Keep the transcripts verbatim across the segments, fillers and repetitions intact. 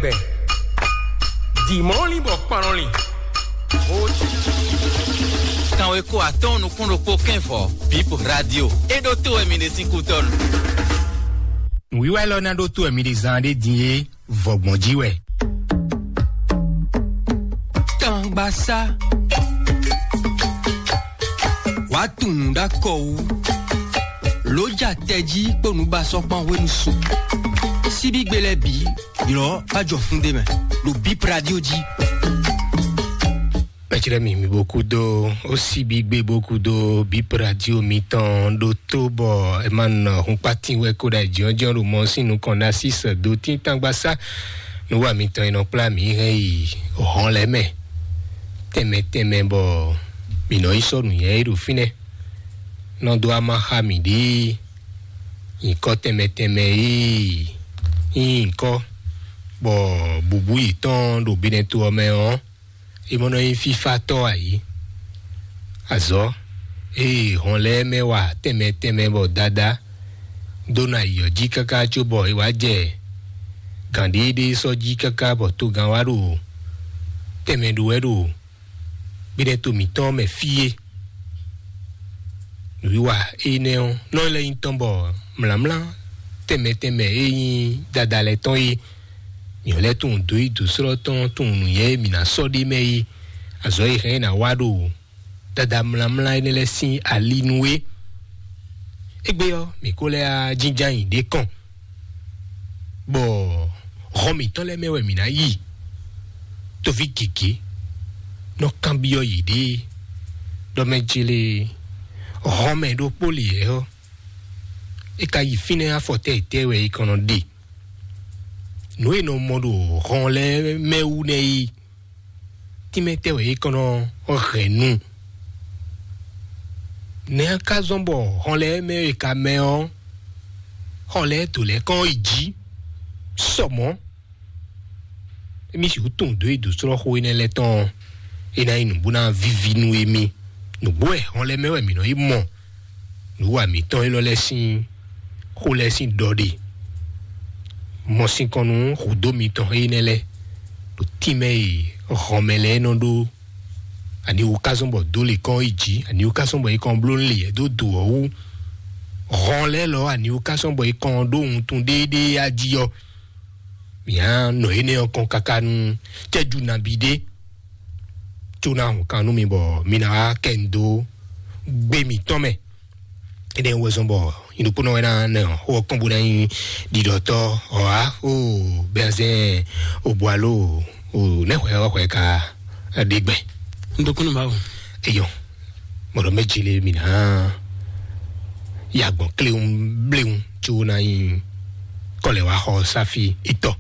Bɛ. Dimɔli bɔ kpanɔli. Kanwe ko atɔn nukún ɖokpó kɛnvɔ, Bip Radio. E ɖo to wɛ mi ɖe sín kútɔnu. Nǔwiwa élɔ́ ná ɖó tó wɛ mi ɖe zan ɖé din é, vɔgbɔn jí wɛ. Tangbasá. Wàá tunwun ɖó akɔ wú. Lǒ ja tɛjí kpó nǔbasɔ́kpán hwenu su. Síbígbe lɛ́ɛ bǐ ylɔ́ bá jɔ fún ɖé mɛ ɖo Bip Radio jí. Mɛtsirɛ mi mi bokudo, o síbígbe bokudo Bip Radio mitɔn ɖo tó bɔ ɛ má nɔ hun kpatin wɛ kó ɖa jɔnjɔn ɖo mɔ sín nukɔn ná sí sɛ do tín tangbasá. Nǔwa mitɔn e nɔ kplá mǐ hɛn yi hɔn lɛ́ɛ mɛ tɛnmɛ tɛnmɛ bɔ mǐ nɔ yi sɔ́ nǔnywɛ́ e ɖo fínɛ́ nɔ dó ama xá mǐ ɖíe. Nyǐkɔ tɛnmɛ tɛnmɛ e nyí nyǐkɔ bɔ bǔbú yětɔn ɖo binɛto ɔ́ mɛ ɔ́, é mɔ nɔ nyí fífátɔ́ ǎ é. Azɔ̌ e hɔn lɛ́ɛ mɛ wa tɛnmɛ tɛnmɛ bɔ Dadá dó ná yi ɔ́ jí káká cóbɔ é wá jɛ gǎnɖéɖé sɔ́ jí káká bɔ togán wá ɖo tɛnmɛ ɖó wɛ ɖo gbéɖɛ́to mǐtɔn mɛ fí é. Nǔwiwa énɛ́ ɔ́ nɔ lɛ́ nyí tɔn bɔ mlǎmlá tɛnmɛ tɛnmɛ e nyí Dadá lɛ́ɛ tɔn é. Mǐ lɛ́ tunwun dǒ yi dǒ slɔ́ tɔn tunwun nǔnywɛ́ e mǐ ná sɔ́ ɖ'é mɛ é. Azɔ̌ e hɛn é ná wa ɖo Dadá mlǎmlá énɛ́ lɛ́ɛ sín ali nú é. Égbé ɔ́, mǐ ko lɛ́ wá jínjɔ́n ayǐ ɖé kɔn, bɔ hɔn mǐtɔn lɛ́ɛ mɛ wɛ mǐ ná yi. Toví gěgé nɔ kanbyɔ́ yěɖée ɖɔ mɛ jlé hɔn mɛ ɖokpó lě ɔ́, é ka yi fínɛ́ afɔtɛ́ yětɛ́ wɛ é kɔn nɔ ɖe. Nǔ e nɔ mɔ ɖo hɔn lɛ́ɛ mɛ wú nɛ́ é. Tínmɛ tɛ́ wɛ é kɔn nɔ hɛn nu? Nɛ̌ ka zɔ́n bɔ hɔn lɛ́ɛ mɛ e ka mɛ ɔ́, hɔn lɛ́ɛ dǒ lɛ́ɛ kɔn yi jí sɔ mɔ̌? Émí sixú tunwun dǒ e dǒ slɔ́ xó énɛ́ lɛ́ɛ tɔn ɔ́, é ná nyí nǔ bó ná víví nú émí. Nǔgbó wɛ hɔn lɛ́ɛ mɛ wɛ mǐ nɔ yi mɔ nǔwa mǐtɔn élɔ́ lɛ́ɛ sín xó lɛ́ɛ sín ɖɔ ɖe. Mɔ sinkɔn nú hǔdó mitɔn énɛ́ lɛ́ɛ ɖo tínmɛ e hɔnmɛ lɛ́ɛ nɔ ɖó. Ani wú ká zɔ́n bɔ dó lě kɔn yi jǐ, ani wú ká zɔ́n bɔ é kɔn bló lě dó do ɔ́ wú. Hɔn lɛ́ɛ lɔ ani wú ká zɔ́n bɔ é kɔn ɖó wuntun ɖéeɖée á jí ɔ́, mǐ á nɔ énɛ́ ɔ́ kɔn káká nú cɛ́jú nabí ɖé, có ná hun kan nú mi bɔ mi ná wá kɛ nu dó gbé mǐtɔn mɛ. Énɛ́ wɛ zɔ́n bɔ nyinukúnɔ wɛ ná nɛ xó ɔ́ kɔn bó ná nyí ɖiɖɔtɔ́ ɔ́ á. O bɛnzɛn o bu alo o nɛ xwɛ ɔ́ xwɛ ka ɖe gbɛ. Ndokúnú Mawu. Eyɔ, mɔɖɔ mɛ jele mi ná ya gbɔn kléwún bléwún, có ná nyí kɔlɛ wá xɔ sáfi itɔ.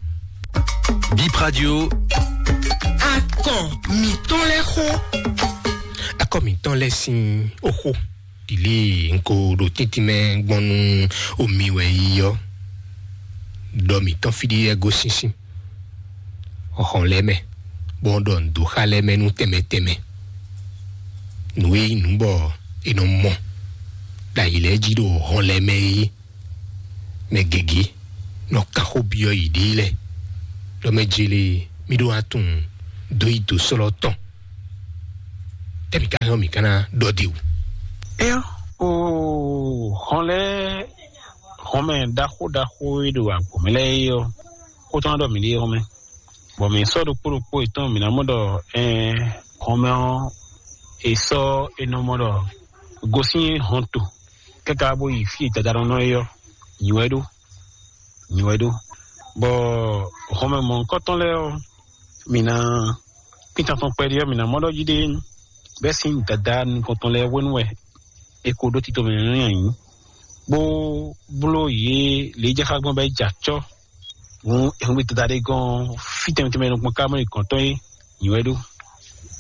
Bip Radio. Akɔ mǐtɔn lɛ́ɛ xó. Akɔ mǐtɔn lɛ́ɛ sín oxó ɖile ŋko ɖo tíntín mɛ gbɔn nú omi wɛ yi ɔ́, ɖɔ mǐtɔn fí ɖíe gosín sín hɔn lɛ́ɛ mɛ, bɔ ɖɔ nǔ dó xá lɛ́ɛ mɛ nú tɛnmɛ tɛnmɛ. Nǔ e nyí nǔ bɔ è nɔ mɔ ɖo ayi lɛ́ɛ jí ɖo hɔn lɛ́ɛ mɛ é. Mɛ gěgé nɔ kan xó byɔ́ yěɖée lɛ́ɛ, ɖɔ mɛ jele mí ɖó wá tunwun dó yi dǒ slɔ́ tɔn. Tɛ́ mǐ ka nyɔ́ mǐ ka ná ɖɔ ɖe wú? Éyɔ́, o hɔn lɛ́ɛ hɔnmɛ ɖaxó ɖaxó e ɖo agbǒmɛ lɛ́ɛ é ɔ́, xó tɔn ɖɔ mǐ ɖe hɔnmɛ. Bɔ mǐ sɔ́ ɖokpó ɖokpó yětɔn mǐ ná mɔ ɖɔ ɛɛ hɔnmɛ ɔ́, è sɔ́ è nɔ mɔ ɖɔ gosín hɔnto káká bó yi fí e dadá nɔ nɔ é ɔ́, nyi wɛ ɖó, nyi wɛ ɖó. Bɔ hɔnmɛ mɔ̌hunkɔtɔn lɛ́ɛ ɔ́, mǐ ná kpítan tɔn kpɛɖé ɔ́, mǐ ná mɔ ɖɔ jí ɖé bɛ́ sín dadá nukɔntɔn lɛ́ɛ hwenu wɛ è ko ɖó tito mɛ nú nyanyi, bó bló yě lě e jɛ xá gbɔn bɔ é jɛ acɔ́. Hǔn è hun gbe dadá ɖé gɔ́n fí tɛnmɛ tɛnmɛ nukɔn ká mɔ è gɔ̌n tɔn é, nyi wɛ ɖó.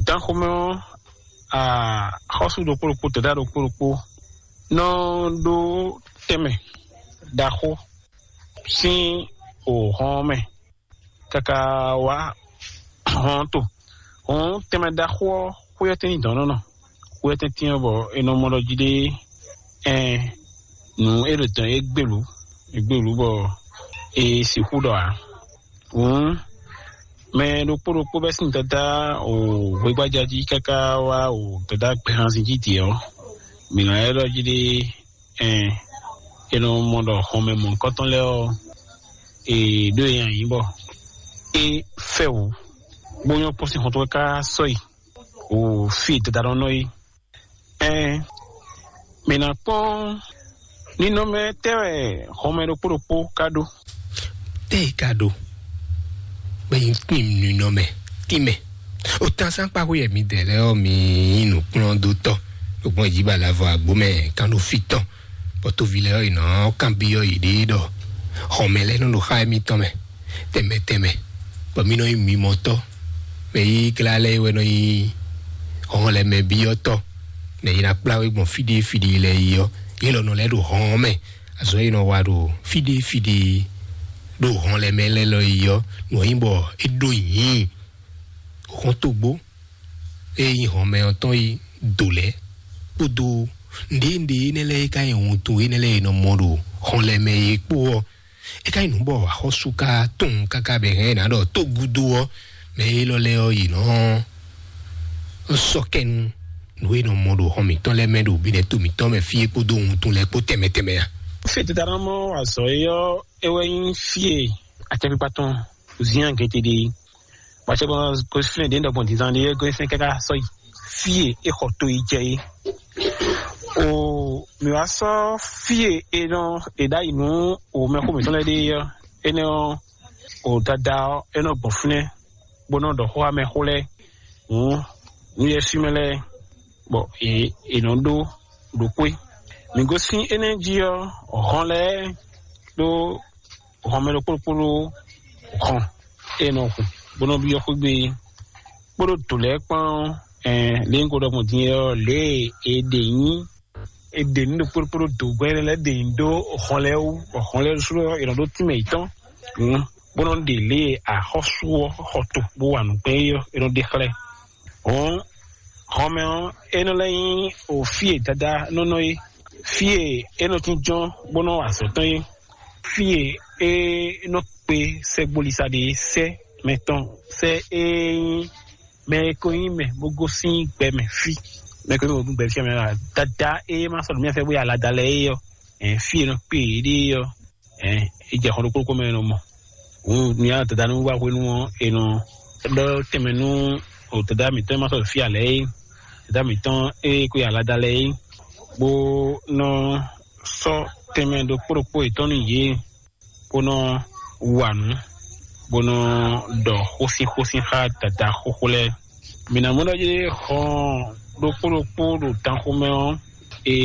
Dán xomɛ ɔ́, axɔ́sú ɖokpó ɖokpó, dadá ɖokpó ɖokpó nɔ ɖó tɛnmɛ ɖaxó sín o hɔn ɔ́ mɛ káká wá hɔn to. Hɔn tɛnmɛ ɖaxó ɔ́, xwé ɔ́ tɛ́n nyí dɔ̌n nɔ nɔ. Xwé ɔ́ tɛ́n tɛ́n ɔ́ bɔ è nɔ mɔ ɖɔ jí ɖé ɛn nǔ é ɖo dɔ̌n é gbelú, é gbelú bɔ è sixú ɖɔ ǎ. Hǔn Mɛ ɖokpó ɖokpó bɛ́ sín dada o hwegbájá jí káká wá o dada gbɛhanzin jí dě ɔ́, mǐ nɔ ylɔ́ jí ɖé. Ɛn, è nɔ mɔ ɖɔ xɔmɛ mɔ̌hunkɔtɔn lɛ́ɛ ɔ́, è ɖó e nyi bɔ é fɛ wǔ, bó nyɔ́ kpɔ́n sín xɔ́ntɔn ká sɔ́ yi o fí e dada nɔ nɔ é. Ɛn, mǐ ná kpɔ́n nínɔmɛ tɛ́ wɛ xɔmɛ ɖokpó ɖokpó ka ɖó. Tɛ́ e ka ɖó? Bɛ nyí tín nínɔmɛ, tínmɛ. O tán sánkpáxú yɛ mi dɛ lɛ ɔ́, mi nyí nǔkplɔ́ndótɔ́, ɖo gbɔn jí ba lavɔ àgbó mɛ kan ɖo fí tɔn, bɔ tóvi lɛ ɔ́, yě nɔ kanbyɔ́ yěɖée ɖɔ xɔmɛ lɛ́ɛ nɔ ɖo xá émítɔn mɛ tɛnmɛ tɛnmɛ, bɔ mí nɔ nyí mimɔtɔ́, mɛ yí glá lɛ́ɛ wɛ nɔ nyí hɔn lɛ mɛ byɔ́tɔ́, nɛ yi ná kplá wé gbɔn fí ɖé fí ɖé lɛ́ɛ yi ɔ́, yě lɔ nɔ lɛ́ ɖo hɔn ɔ́ mɛ. Azɔ̌ e nɔ wa ɖo fí ɖé fí ɖé ɖo hɔn lɛ mɛ lɛ́ɛ lɔ yi ɔ́, nǔ ɔ́ nyí bɔ é ɖó nyǐ hɔntogbó e nyí hɔnmɛ ɔ́ tɔn yi do lɛ́ɛ kpódó nǔɖé nǔɖé énɛ́ lɛ́ɛ e ka nyí wuntun énɛ́ lɛ́ɛ e nɔ mɔ ɖo hɔn lɛ mɛ é kpó ɔ́, é ka nyí nǔ bɔ axɔ́sú ka tunwun káká bɛ hɛn ná ɖɔ tó gúdo ɔ́, mɛ élɔ́ lɛ́ɛ ɔ́, yě nɔ sɔ́ kɛ nú nǔ e nɔ mɔ ɖo hɔn mǐtɔn lɛ́ɛ mɛ ɖo bǐnɛ́ to mǐtɔn mɛ fí é kpódó wuntun lɛ́ɛ kpó tɛnmɛ tɛnmɛ a? Fí e tata nɔ mɔ azɔ̌ é ɔ́, é wɛ nyí fí e acɛkpikpa tɔn zián gete ɖe é. Bɔ acɛkpikpa gosín ɖě ɖɔgbɔn dǐndán ɖé é gosín káká sɔ́ yi fí e é xɔ to yi jɛ é. O mǐ wá sɔ́ fí e è nɔ è ɖ'ayǐ nú o mɛxó mǐtɔn lɛ́ɛ ɖe é ɔ́, énɛ́ ɔ́, o dada ɔ́, é nɔ gbɔn fínɛ́ bó nɔ ɖɔ xó xá mɛxó lɛ́ɛ hǔn nú yɛ́swímɛ lɛ́ɛ, bɔ è è nɔ ɖó ɖo xwé. Mǐ gosín énɛ́ jí ɔ́, hɔn lɛ́ɛ ɖó hɔnmɛ ɖokpó ɖokpó ɖó hɔn e nɔ hun bó nɔ byɔ́ xwé gbe é, kpódó dǒ lɛ́ɛ kpán ɔ́, ɛn lě un ko ɖɔ gbɔn din é ɔ́, lě e è ɖe nyí è ɖe nǔ ɖokpó ɖokpó ɖó dǒgbɛ́ lɛ́ɛ ɖe nyi ɖó hɔn lɛ́ɛ wú, bɔ hɔn lɛ́ɛ ɖésú ɔ́, è nɔ ɖó tínmɛ yětɔn, hǔn bó nɔ ɖe lě e axɔ́sú ɔ́ xɔ to bó wa nǔ gbɛn é ɔ́, è nɔ ɖe xlɛ́. Hɔn hɔnmɛ ɔ́, é nɔ lɛ́ nyí o fí e dada nɔ nɔ é, fí e é nɔ tínjɔ́n bó nɔ wa azɔ̌ tɔn é, fí e é nɔ kpe sɛgbolisa ɖe sɛ́ mɛtɔn sɛ́ é nyí mɛ e ko nyí mɛ bó gosín gbɛ mɛ fí. Mɛ e ko nyí mɛ bó gosín gbɛ fí mɛ dada e ma sɔ́ nǔ mì fɛ bó yi alada lɛ́ɛ é ɔ́, ɛn fí e nɔ kpe yěɖée ɔ́, ɛn é jɛ xɔ ɖokpó ɖokpó mɛ e nɔ mɔ. Hǔn mi nya dada nú wá hwenu ɔ́, è nɔ ɖɔ tɛnmɛ nú o dada mǐtɔn e ma sɔ́ fí alɛ é, dada mǐtɔn e ko yi alada lɛ́ɛ é, bó nɔ sɔ́ tɛnmɛ ɖokpó ɖokpó yětɔn nú yě, bó nɔ wa nǔ, bó nɔ ɖɔ xósin xósin xá dada xóxó lɛ́ɛ. Mǐ ná mɔ ɖɔ jí xɔn ɖokpó ɖokpó ɖo tanxomɛ ɔ́, è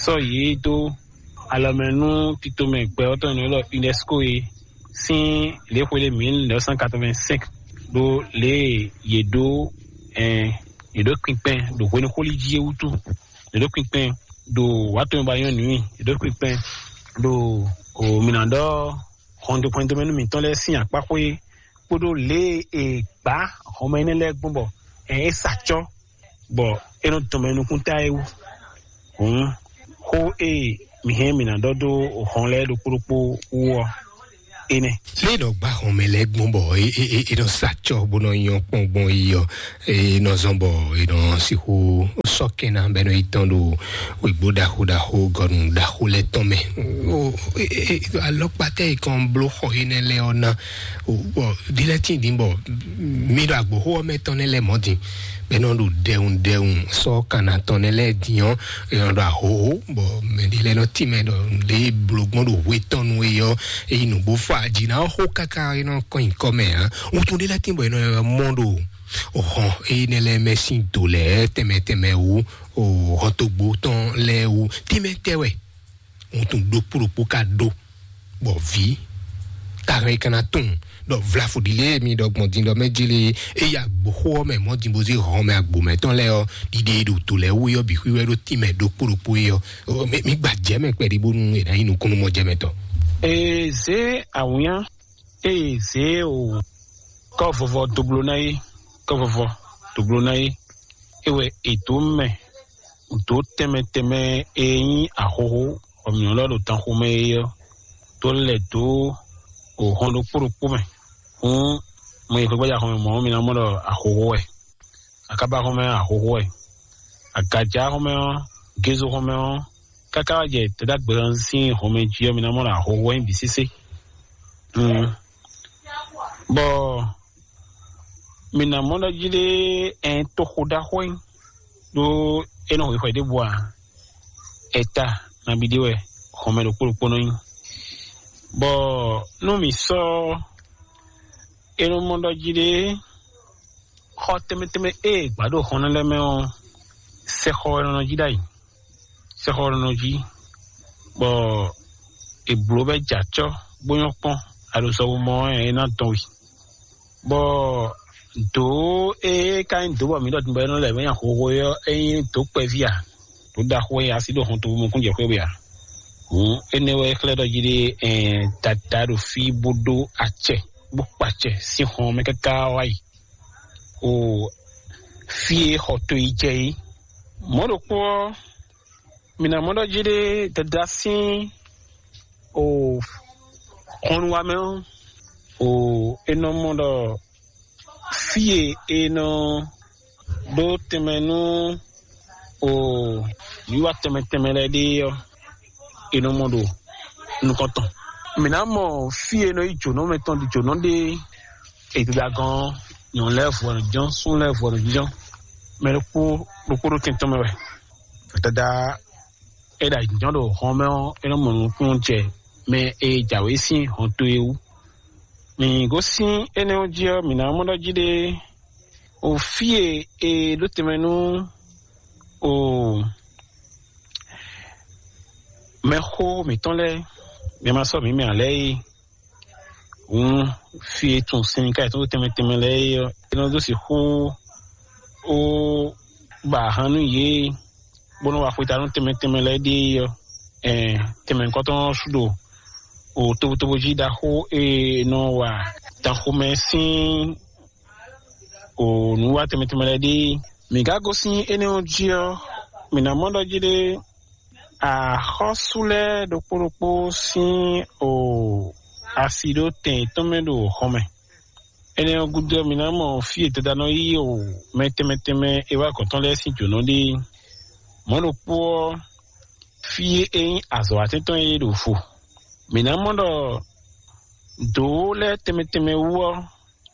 sɔ́ yě dó alɔmɛ nú titomɛ gbɛ ɔ́ tɔn e nɔ ylɔ́ UNESCO é sín lě xwe ɖé mille neuf cent quatre-vingt-cinq ɖó lě e yě ɖó ɛn yě ɖó kpinkpɛn ɖo hwenu xóli jí é wútu. Yě ɖó kpinkpɛn ɖo wǎ tɔn ba nyɔ́ nǔ i, yě ɖó kpinkpɛn ɖo o mǐ ná ɖɔ xɔndoxɔndomɛnú mǐtɔn lɛ́ɛ sín akpáxwé kpódó lě e è gbǎ hɔnmɛ énɛ́ lɛ́ɛ gbɔn bɔ ɛ é sa acɔ́, bɔ é nɔ dɔn mɛ nukúnta é wú. Hǔn xó e mǐ hɛn mǐ ná ɖɔ dó hɔn lɛ́ɛ ɖokpó ɖokpó wú ɔ́, énɛ́. Lě nɔ gbá hɔnmɛ lɛ́ɛ gbɔn bɔ é é é é nɔ sa acɔ́ bó nɔ nyɔ́ kpɔ́n gbɔn yi ɔ́, é nɔ zɔn bɔ é nɔ sixú sɔ́ kɛn ná bɔ é nɔ yi tɔn ɖo wěgbó ɖaxó ɖaxó gɔnu ɖaxó lɛ́ɛ tɔn mɛ. O é é é alɔkpatɛ yi kɔn bló xɔ énɛ́ lɛ́ɛ ɔ́ ná. O bɔ ɖi lɛ́ɛ tín dín bɔ mi ɖo agboxó ɔ́ mɛ tɔn nɛ́ lɛ́ɛ mɔ̌ din, bɔ é nɔ ɖo ɖɛwun ɖɛwun sɔ́ kanna tɔn nɛ́ lɛ́ɛ din ɔ́, é nɔ ɖo ahohó, bɔ mɛ ɖé lɛ́ɛ nɔ tínmɛ ɖɔ ɖě bló gbɔn ɖo hwe tɔn nu é ɔ́, é yi nǔgbó fɔ aji ná xó káká é nɔ kɔn nyǐkɔ mɛ ǎ. Wuntun ɖé lɛ́ɛ tín bɔ é nɔ mɔ ɖo hɔn énɛ́ lɛ́ɛ mɛ sín do lɛ́ɛ tɛnmɛ tɛnmɛ wú, o hɔntogbo tɔn lɛ́ɛ wú. Tínmɛ tɛ wɛ wuntun ɖokpó ɖokpó ka ɖó, bɔ vǐ ka hɛn ka ná tunwun ɖɔ vlafo ɖi lě e mi ɖɔ gbɔn din ɖɔ mɛ jí lé, eya gboxó ɔ́ mɛ mɔ̌ din bó zé hɔn mɛ agbo mɛtɔn lɛ́ɛ ɔ́, ɖiɖe e ɖo to lɛ́ɛ wú é ɔ́ bǐ xwíwɛ́ ɖó tínmɛ ɖokpó ɖokpó é ɔ́. Mi mi gba jɛ mɛ kpɛɖí bónú è nǎ nyí nukúnnú-mɔjɛmɛtɔ́. Ee zě awǐnnya, ee zě o kɔ́ vɔvɔ dó bló ná é, kɔ́ vɔvɔ dó bló ná é, é wɛ è dǒ mɛ dǒ tɛnmɛ tɛnmɛ e nyí ahohó bɔ mǐ nɔ lɛ́ ɖo danxomɛ é ɔ́, dó lɛ̌ dó o hɔn ɖokpó ɖokpó mɛ. Hǔn Mɔ yi xwegbaja xɔmɛ mɔ̌, mi ná mɔ ɖɔ ahoho wɛ. Akaba xɔmɛ ahoho wɛ. Agaja xɔmɛ ɔ́, gezo xɔmɛ ɔ́, káká wá jɛ tɛdágbɛlɔ sín xɔmɛ jí ɔ́, mi ná mɔ ɖɔ ahoho wɛ nyí bǐ sésé. Mm. Bɔ mi ná mɔ ɖɔ jí ɖé, ɛn toxo ɖaxó nyí, ɖó é nɔ xwixwɛ ɖěbǔ ǎ. Ɛta nabí ɖé wɛ xɔmɛ ɖokpó ɖokpó nɔ nyí. Bɔ nú mǐ sɔ́ é nɔ mɔ ɖɔ jí ɖé, xɔ tɛnmɛ tɛnmɛ e gbǎ ɖo xɔnɔ lɛ́ɛ mɛ ɔ́, sɛxɔ wɛ nɔ jí ɖ'ayǐ. Sɛxɔ wɛ nɔ jí, bɔ è blǒ bɔ é jɛ acɔ́, bó nyɔ́ kpɔ́n, aɖosɔwumɔ ɔ́, é ná dɔn we. Bɔ dǒ e ka nyí dǒ bɔ mǐ ɖɔ din bɔ é nɔ lɛ mɛ nyi ahoho é ɔ́, é nyí dǒ kpɛví ǎ. Dǒ ɖaxó e asi ɖo hɔntogbó mɔkúnjɛxwé we ǎ. Hǔn énɛ́ wɛ é xlɛ́ ɖɔ jí ɖé, ɛn dada ɖo fí bó ɖó acɛ, bó kpa acɛ sín hɔn mɛ káká wá yi. O fí e xɔ to yi jɛ é. Mɔ̌ ɖokpó ɔ́, mǐ ná mɔ ɖɔ jí ɖé dada sín o xɔnúwamɛ ɔ́, o é nɔ mɔ ɖɔ fí e è nɔ ɖó tɛnmɛ nú o nǔwiwa tɛnmɛ tɛnmɛ lɛ́ɛ ɖe ɔ́, è nɔ mɔ ɖo nukɔn tɔn. Mǐ ná mɔ fí e è nɔ yí jǒnɔ mɛ tɔn ɖi jǒnɔ ɖe e dada gɔ́n ɔ́, nyɔ̌nu lɛ́ɛ vɔ nɔ jínjɔ́n, súnnu lɛ́ɛ vɔ nɔ jínjɔ́n, mɛ ɖokpó ɖokpó ɖo tɛn tɔn mɛ wɛ. Dada e ɖo ayǐjínjɔ́n ɖo hɔn mɛ ɔ́, é nɔ mɔ nukúnnú jɛ mɛ e jǎwe sín hɔn towe wú. Mǐ gosín énɛ́ ɔ́ jí ɔ́, mǐ ná mɔ ɖɔ jí ɖé, o fí e è ɖó tɛnmɛ nú o mɛxó mǐtɔn lɛ́ɛ, mɛ ma sɔ́ mǐ mɛ ǎ lɛ́ɛ é. Hǔn fí e tunwun sin ká e tɔ́n tɛnmɛ tɛnmɛ lɛ́ɛ é ɔ́, é nɔ dó sixú ó ba ahan nú yě, bó nɔ́ wa xweta nú tɛnmɛ tɛnmɛ lɛ́ɛ ɖe é ɔ́, ɛn tɛnmɛ nukɔntɔn ɔ́ sú ɖo o tobotobo jí ɖaxó e nɔ wa danxomɛ sín o nǔ wa tɛnmɛ tɛnmɛ lɛ́ɛ ɖe. Mǐ ka gosín énɛ́ ɔ́ jí ɔ́, mǐ ná mɔ ɖɔ jí ɖé axɔ́sú lɛ́ɛ ɖokpó ɖokpó sín o asi ɖó tɛn yětɔn mɛ ɖo xɔ mɛ. Énɛ́ ɔ́ gúdo ɔ́, mi ná mɔ fí e dada nɔ yí o mɛ tɛnmɛ tɛnmɛ e wá gɔ̌n tɔn lɛ́ɛ sín jǒnɔ ɖe. Mɔ̌ ɖokpó ɔ́, fí e nyí azɔ̌watɛ́ntɔn e ɖo vo. Mǐ ná mɔ ɖɔ dǒ lɛ́ɛ tɛnmɛ tɛnmɛ wú ɔ́,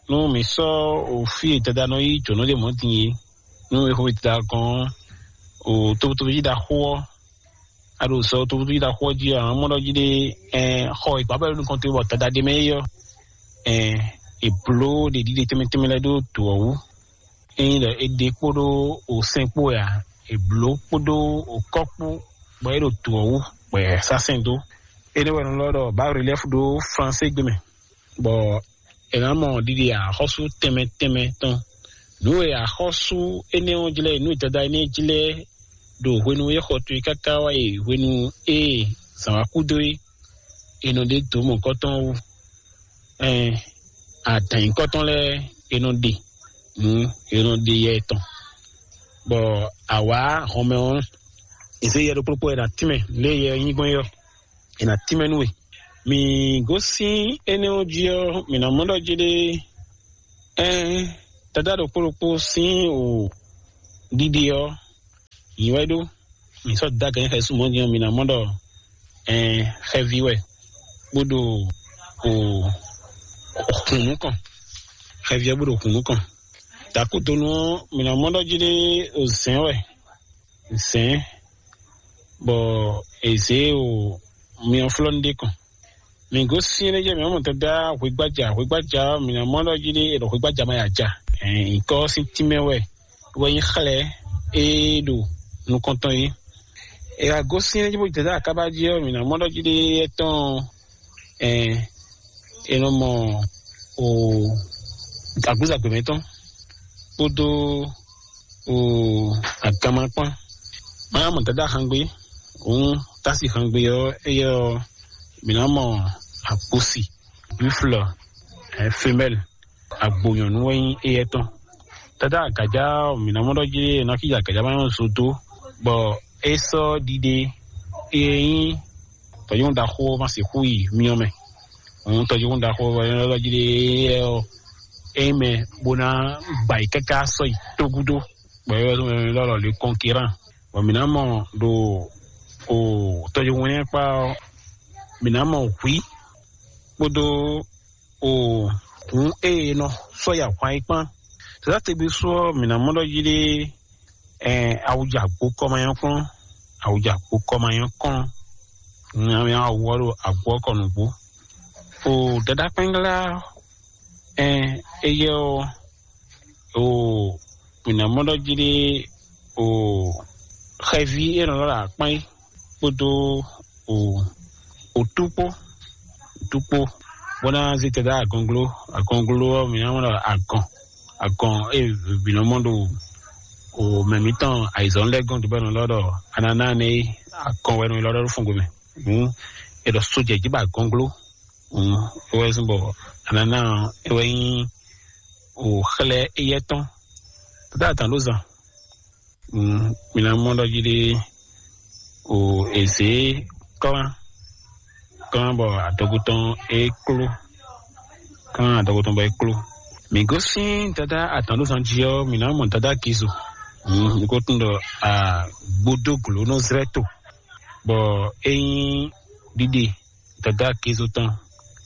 nú mǐ sɔ́ o fí e dada nɔ yí jǒnɔ ɖe mɔ̌ din é, nú è xo dada gɔ́n o tobutóbú jí ɖaxó ɔ́, a ɖo sɔ tobutóbú jí ɖaxó ɔ́ jí ɔ́, a nǎ mɔ ɖɔ jí ɖé, ɛn xɔ e gbǎbɔ e ɖo nukɔn towe bɔ dada ɖ'é mɛ é ɔ́, ɛn è blǒ ɖě ɖiɖe tɛnmɛ tɛnmɛ lɛ́ɛ ɖó dǒ ɔ́ wú. Ényí ɖɔ è ɖe kpódó osɛn kpó wɛ ǎ, è blǒ kpódó okɔ́ kpó, bɔ é ɖo dǒ ɔ́ wú, bɔ è sá sɛn dó. Énɛ́ wɛ è nɔ ylɔ́ ɖɔ bǎ relɛ́fu ɖó flansé gbe mɛ, bɔ è nǎ mɔ ɖiɖe axɔ́sú tɛnmɛ tɛnmɛ tɔn. Nǔ e axɔ́sú énɛ́ ɔ́ jlɛ́, nǔ e dada énɛ́ jlɛ́ ɖo hwenu e xɔ towe káká wá yi hwenu e zǎn wá kú dó é, è nɔ ɖe dǒ mɔ̌hunkɔtɔn wú. Ɛn, adǎn nyǐkɔtɔn lɛ́ɛ è nɔ ɖe nǔ, è nɔ ɖe yɛ tɔn, bɔ awǎ hɔnmɛ ɔ́, è zě yɛ ɖokpó ɖokpó è nǎ tínmɛ lě e yɛ ɔ́ nyí gbɔn é ɔ́, è nǎ tínmɛ nú we. Mǐ gosín énɛ́ ɔ́ jí ɔ́, mǐ ná mɔ ɖɔ jí ɖé, ɛn, dada ɖokpó ɖokpó sín o ɖiɖe ɔ́, nyǐ wɛ ɖó. Mǐ sɔ́ dó agǎn xɛsú mɔ̌ din ɔ́, mǐ ná mɔ ɖɔ ɛn xɛví wɛ, bó ɖo o xun nukɔn. Xɛví ɔ́ bó ɖo xun nukɔn. Dakúdonu ɔ́, mǐ ná mɔ ɖɔ jí ɖé o zɛ̌n wɛ, zɛ̌n, bɔ è zě o myɔflɔ́nú ɖé kɔn. Mǐ gosín énɛ́ jɛ mǐ mɔ dada hwegbája, hwegbája ɔ́, mǐ ná mɔ ɖɔ jí ɖé è ɖɔ hwegbája ma ya ja. Ɛn, nyǐkɔ ɔ́ sín tínmɛ wɛ wɛ nyí xlɛ́ é ɖo nukɔn tɔn é. È wá gosín énɛ́ jí bó jɛ dó akábá jí ɔ́, mǐ ná mɔ ɖɔ jí ɖé étɔn, ɛn, è nɔ mɔ o agbúzagbe mɛtɔn kpódó o aganma kpán. Má mɔ dada xangbé, òun tási xangbé ɔ́, éyɛ́ ɔ́, mǐ ná mɔ akposi, buffle, ɛ, femelle, agbo nyɔ̌nu wɛ nyí éyɛ́ tɔn. Dada agǎjá ɔ́, mǐ ná mɔ ɖɔ jí ná kíjɛ agǎjá má nyɔ́ zo dó, bɔ é sɔ́ ɖiɖe e nyí tɔ̌nyɔ́ ɖaxó ɔ́ má sixú yi myɔ mɛ. Òun tɔ́júkún ɖaxó ɔ́, é nɔ ɖɔ jí ɖe éyɛ́ ɔ́, é nyí mɛ bó ná gba yi káká sɔ́ yi tógúdó, bɔ é wɛ zɔ́n mɛ lɔ́ ɖɔ le kɔnkirán. Bɔ mǐ ná mɔ ɖo o tɔjúhún kpá ɔ́, mǐ ná mɔ hwǐ kpódó o hǔn e è nɔ sɔ́ yi ahwan yi kpán. Sɛ̌dá tegbe sú ɔ́, mǐ ná mɔ ɖɔ jí ɖé, awuja gbo kɔ ma nyɔ́ kplɔ́n, awuja gbo kɔ ma nyɔ́ kplɔ́n, nya awu ɔ́ ɖo agbo ɔ́ kɔ nǔgbó. O dadá kpɛ́nglá, éyɛ́ ɔ́, o mǐ ná mɔ ɖɔ jí ɖé, o xɛví e nɔ lɔ ɖo akpán é kpódó o otú kpó, otú kpó, bó ná zé tɛdá agɔnglo, agɔnglo ɔ́ mǐ ná mɔ ɖɔ agɔn, agɔn e bǐ nɔ mɔ ɖo o mɛ mǐtɔn ayizɔ́n lɛ́ɛ gɔ́n dubɛ́nɔ lɔ ɖɔ ananá nɛ é, agɔn wɛ nɔ lɔ ɖɔ ɖo fɔngbe mɛ. Hǔn è ɖɔ sójɛ jí ba agɔnglo. Hǔn é wɛ zɔ́n bɔ ananá ɔ́ é wɛ nyí o xlɛ́ éyɛ́ tɔn. Tata atǎn ɖó zan. Mǐ ná mɔ ɖɔ jí ɖé o èzě klán, klán bɔ adɔgo tɔn é kló, klán adɔgo tɔn bɔ é kló. Mǐ gosín dadá atǎn ɖó zan jí ɔ́, mǐ ná mɔ dadá Gizo. Mǐ ko tún ɖɔ agbódóglǒnɔzlɛ́to, bɔ é nyí ɖiɖe dadá Gizo tɔn.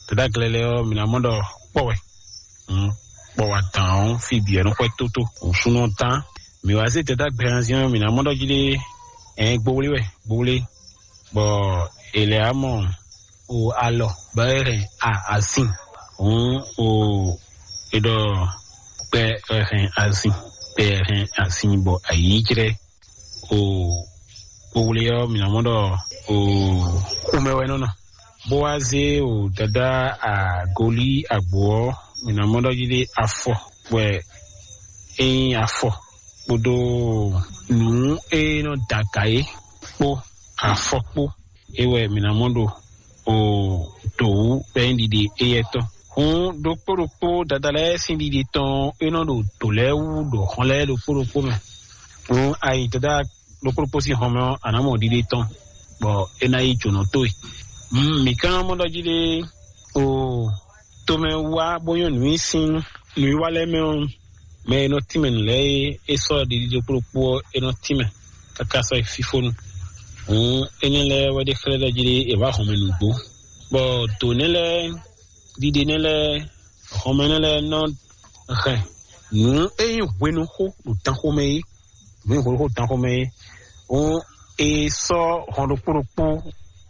Dadá Glɛlɛ ɔ́, mǐ ná mɔ ɖɔ kpɔ́ wɛ. Kpɔ́ wa dǎn ɔ́, fí bǐ wɛ nɔ xwɛ tótó. Nǔsúnnú ɔ́ tán. Mǐ wá zé dadá gbɛhanzin ɔ́, mǐ ná mɔ ɖɔ jí ɖé, ɛn gbowlé wɛ, gbowlé. Bɔ è lɛ́ wá mɔ o alɔ bɔ é hɛn a asin. Hǔn o è ɖɔ kpɛ hɛn asin, kpɛ hɛn asin bɔ ayǐ jlɛ́. O kpowlé ɔ́, mǐ ná mɔ ɖɔ o xomɛ wɛ nɔ nɔ. Bó wá zé o dadá agolí agbo ɔ́, mǐ ná mɔ ɖɔ jí ɖé afɔ wɛ é nyí afɔ kpódó nǔ e nɔ da aga é kpó, afɔ kpó é wɛ mǐ ná mɔ ɖo o dǒ wú bɔ é nyí ɖiɖe éyɛ́ tɔn. Hǔn ɖokpó ɖokpó dada lɛ́ɛ sín ɖiɖe tɔn é nɔ ɖo dǒ lɛ́ɛ wú ɖo hɔn lɛ́ɛ ɖokpó ɖokpó mɛ. Hǔn ayi dada ɖokpó ɖokpó sín hɔn mɛ ɔ́, a nǎ mɔ ɖiɖe tɔn, bɔ é ná yí jǒnɔ towe. Mǐ ka ná mɔ ɖɔ jí ɖé o tomɛ wá bó nyɔ́ nǔ nyi sín nǔwiwa lɛ́ɛ mɛ ɔ́, mɛ e nɔ tínmɛ nǔ lɛ́ɛ é, é sɔ́ ɖiɖi ɖokpó ɖokpó ɔ́, é nɔ tínmɛ káká sɔ́ yi fífónu. Hǔn énɛ́ lɛ́ɛ wɛ ɖe xlɛ́ ɖɔ jí ɖé è wǎ hɔnmɛ nǔgbó, bɔ dǒ nɛ́ lɛ́ɛ, ɖiɖe nɛ́ lɛ́ɛ, hɔnmɛ nɛ́ lɛ́ɛ nɔ hɛn nǔ e nyí hwenuxó ɖo danxomɛ é, nǔ e nyí hwenuxó ɖo danxomɛ é. Hǔn è sɔ́ hɔn ɖokpó ɖokpó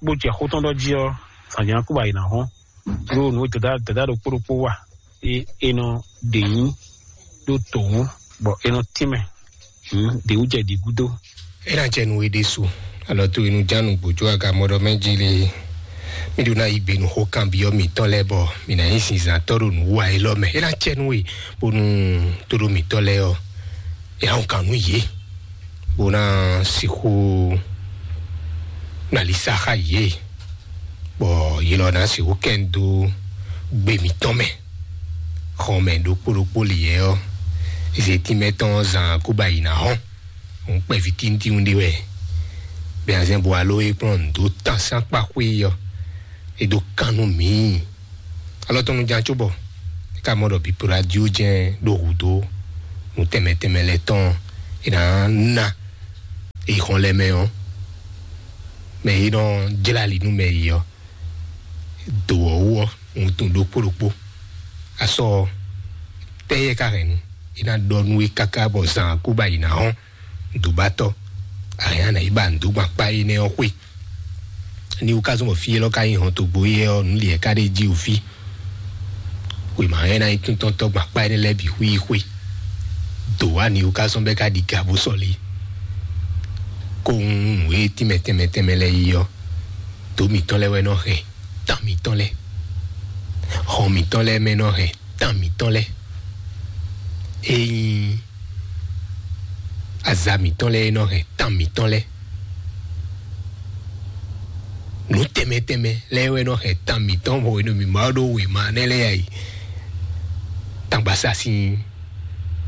bó jɛ xó tɔn ɖɔ jí ɔ́, zǎnjǎn kú bɔ ayǐ ná hɔn. Ɖó nǔ e dada dada ɖokpó ɖokpó wa é, é nɔ ɖe nyí ɖó tǒ wú, bɔ é nɔ tínmɛ. Hǔn ɖě wú jɛ ɖǐ gúdo. É ná jɛ nú we ɖésú, alɔ tó inú jánu gbòjó agamɔɖɔ mɛ jí lé. Mí ɖó ná yí gbe nú xó kanbyɔ́ mǐtɔn lɛ́ɛ bɔ mǐ ná nyí zinzǎntɔ́ ɖo nǔ wa élɔ́ mɛ. É ná jɛ nú we bónú tóɖó mǐtɔn lɛ́ɛ ɔ́, é ná kan nú yě, bó ná sixú nalisa xá yě, bɔ yě lɔ ná sixú kɛn dó gbe mǐtɔn mɛ. Xɔmɛ ɖokpó ɖokpó lǐyɛ ɔ́, zětín mɛtɔn zan kó ba yi ná hɔn. Òun kpɛví tíntín ɖé wɛ. Bɛnazɛn bo alo e kplɔ́n nǔ dó tán sín akpa xwé yi ɔ́, é dó kan nú mǐ. Alɔ tɔn nu ján cóbɔ é ka mɔ ɖɔ bǐ radio jɛ́n ɖo hǔdó nǔ tɛnmɛ tɛnmɛ lɛ́ɛ tɔn é ná ná é xɔn lɛ́ɛ mɛ ɔ́, mɛ e nɔ jlá ali nú mɛ yi ɔ́, dǒ ɔ́ wú ɔ́, wuntun ɖokpó ɖokpó. Asɔ ɔ́, tɛ́ yɛ ka hɛn nu? É ná ɖɔ nú we káká bɔ zan kó ba yi ná hɔn dǒbatɔ́. Ahɛn ana yi ba nǔ dó gban kpá énɛ́ ɔ́ xwé. Ní wú ka zɔ́n bɔ fí élɔ́ ka nyí hɔn togbo yɛ ɔ́, nǔ liɛ ka ɖé jí wǔ fí. Wěma hɛn ná nyí túntɔ́ntɔ́ gban kpá énɛ́ lɛ́ɛ bǐ xwí yi xwé. Dǒ wá ní wú ka zɔ́n bɛ́ ka ɖi ga bó sɔ́ lé. Kó nǔ e tínmɛ tɛnmɛ tɛnmɛ lɛ́ɛ yi ɔ́, dǒ mǐtɔn lɛ́ɛ wɛ nɔ hɛn tán mǐtɔn lɛ́ɛ. Hɔn mǐtɔn lɛ́ɛ mɛ nɔ hɛn tán mǐtɔn lɛ́ɛ. Ényí aza mǐtɔn lɛ́ɛ nɔ hɛn tán mǐtɔn lɛ́ɛ. Nǔ tɛnmɛ tɛnmɛ lɛ́ɛ wɛ nɔ hɛn tán mǐtɔn bɔ hwenu mǐ ma ɖó wěma nɛ́ lɛ́ɛ yi. Tangbasasin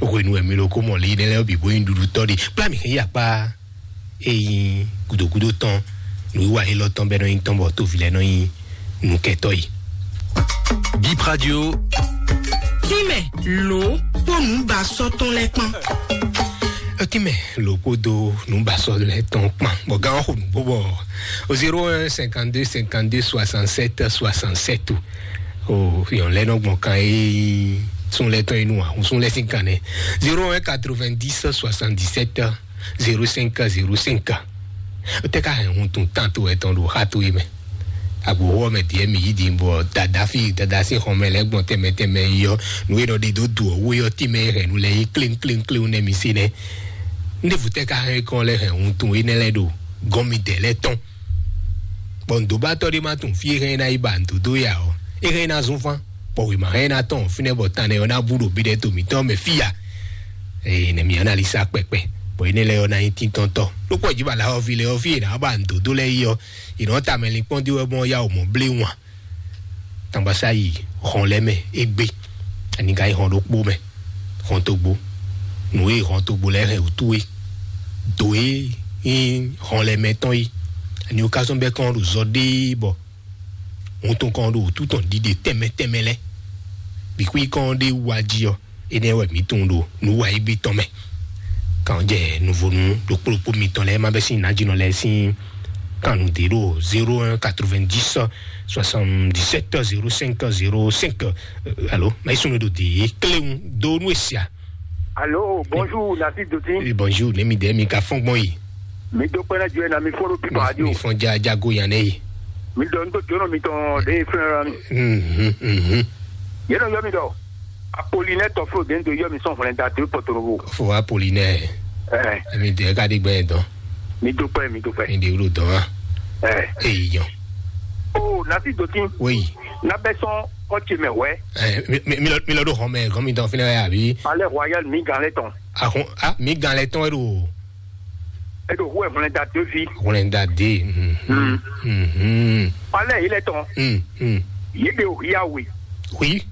hwenu wɛ mi ɖo kó mɔ lě nɛ́ lɛ́ɛ bǐ bó nyí ɖuɖutɔ́ ɖe. Kplá mǐ hɛn yi akpá e nyí gǔdogúdo tɔn, nǔwiwa élɔ́ tɔn bɛ́ nɔ nyí tɔn bɔ tóvi lɛ́ɛ nɔ nyí nǔkɛtɔ́ yi. Bip Radio. Tínmɛ lǒ kpó nǔbasɔ́ tɔn lɛ́ɛ kpán. Tínmɛ lǒ kpódó nǔbasɔ́ lɛ́ɛ tɔn kpán. Bɔ gán xo nǔgbó bɔ o zéro un cinquante deux cinquante deux soixante sept soixante sept o. O yɔn lɛ́ɛ nɔ gbɔn kan e sún lɛ́ɛ tɔn e nu a, sún lɛ́ɛ sín kan nɛ. Zéro un quatre vingt dix soixante dix sept zéro cinq zéro cinq. Tɛ ka hɛn hun tun tán to etɔn ɖo xa to yi mɛ. Agbo wɔ mɛ diɛ mi yi di bɔ dada fi dada si xɔn mɛ lɛ gbɔn tɛmɛ tɛmɛ yi yɔ. Nu e nɔ ɖe do du ɔ wo yɔ ti mɛ hɛn nu lɛ yi klin klin klin nɛ mi si nɛ. Ndevu tɛ ka hɛn kɔn lɛ hɛn hun tun yi nɛ lɛ ɖo gɔn mi dɛ lɛ tɔn. Bɔ ndo ba tɔ ɖe ma tun fi e hɛn na yi ba ndo do ya ɔ, e hɛn na zun fan. Bɔ wěma hɛn ná tɔn fínɛ́ bɔ tánɛ ɔ́ ná bú ɖo bí ɖɛ to mǐtɔn mɛ fí ya. Ee, nɛ mi analisa kpɛkpɛ. Bɔ énɛ́ lɛ́ɛ ɔ́ ná nyí tíntɔ́ntɔ́. Lókpɔ jí bala ɔ́ vi lɛ ɔ́ fí è nǎ ba nǔdódó lɛ́ɛ yi ɔ́, è nǎ ta mɛ linkpɔ́n dó wɛ gbɔn yá wǒ mɔ blé wan. Tangbasáyi hɔn lɛ́ mɛ égbé. Ani ka yi hɔn ɖokpó mɛ. Hɔn togbo. Nǔ e hɔn togbo lɛ́ɛ hɛn wǔtú é. Dǒ e nyí hɔn lɛ́ɛ mɛ tɔn é. Ani ó ká sɔ́n bɛ́ kɔn ɖo zɔ ɖéé bɔ. Hun tɔn kɔn ɖo wútu tɔn ɖiɖe tɛnmɛ tɛnmɛ lɛ. Bixwí kɔn ɖe wá jí ɔ, énɛ́ wɛ mǐ tunwun ɖo nǔ wa égbé tɔn mɛ. Kan jɛ nuvonu ɖokpó ɖokpó mitɔn lɛ ma bɛ sín najinɔ lɛ sín kan nu dé ɖo zéro un quatre-vingt-dix soixante-dix-sept zéro cinq zéro cinq. Alo, ma yi sunu ɖo dé kléwu dó nú esia. Alo, bonjour, Nasi Doti. Eh, bonjour, ne mi dɛ mi ka fɔn gbɔn yi. Mi do kpɛnɛ jɔ na mi fɔn ɖo pipa radio. Mi fɔn ja jago yan ne yi. Mi dɔ n to jɔnɔ mi tɔn de fɛn ra mi. Mhm, mhm. Ye nɔ yɔ mi dɔ. Apolinɛ tɔflo de n do yɔ mi sɔn hwlɛn da de pɔtorobo. Fo Apolinɛ. Eh. Mi de ka di gbɛ dɔn. Mi do kpɛ, mi do kpɛ. Mi de wlo dɔn wa. Eh. Eyi yɔ. Oh, Nasi Doti. Oui. Na bɛ sɔn kɔtse mɛ wɛ. Eh, mi, mi, mi lɔ, mi lɔ do xɔmɛ, gɔmi dɔn finɛ ya bi. Palais Royal mi gan lɛ tɔn. Ahun, ah, mi gan lɛ tɔn e do. E do hu ɛ hwlɛn da de fi. Hwlɛn da de. Mhm. Mm. Mhm. Palais yi lɛ tɔn. Mm, mm. Yi de o ya we. Oui.